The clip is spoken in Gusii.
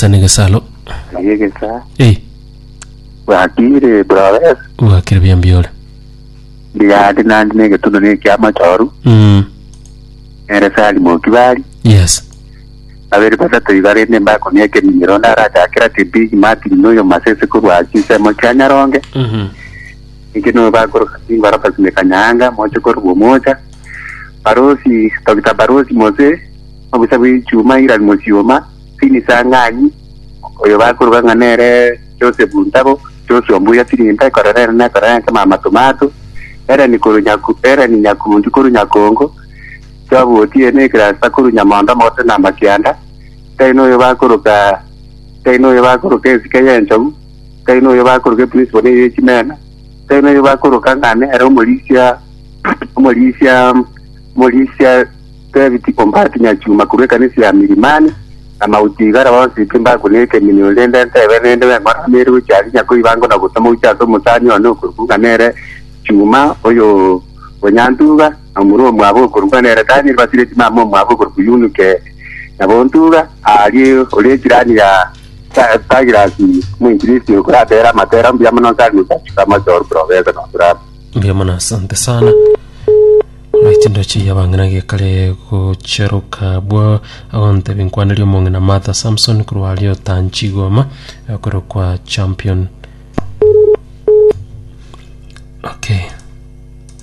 Sana egesalo. Aye egesa. Eh, Bwakire brothers. bwakire buya mbiore. Ndiyande nandi negetundo nekiamachoru. Mm. Nere Sali Mokibari. Yes. Babere batato iga rende mbakonia ekeminyero onde arachakera ati Big Martin noyo Masese korwa chinsemo chia Nyaronge. Mhm. Inche noyo bakoroka Singwa Robert Mekanyanga moche korwa Omocha. Barosi Dr. Barosi Mose obusa bwe Chuma Iran Mosioma Fini Sang'anyi oyo bakoroka ng'a nere Joseph Ntabo Joshua Mbuya Tirimba ekorera ere nekorera enke Mama Tomato Ellen korwa Nyaku Ellen Nyakundi korwa Nyakongo Job Otieno Ekrasta korwa Nyamondo Omogote na Amakianda Tari noyo bakoroka tari noyo bakoroka esike y'enchogu tari noyo bakoroka eprinciple neye chimena tari noyo bakoroka ng'a nere omorisia omorisia omorisia David Ombati Nyachuma korwa ekanisa ya Milimani na Mauti Igara bonsi pi mbakune ekeminio rende ntebe rende beng'ora nere gochia aria nyakoibango na gotama gochia ase omosani one okorokwa ng'a nere Chuma oyo onyantuga na omorua omwabo okorokwa nere Daniel basireti mama omwabo okorokwa Yunuke Nyabontuga aria ore echirani ya Douglas omoinjilisti okoratere amatera mbuya mono nsari gochia amachoru professor noturama. Mbuya mono asante sana. Right ndoche yabang'ina gekare gocheroka bwa agontebi nkwanerie omong'ina Martha Samson korwa aria Otanchigoma okorokwa champion. Okay.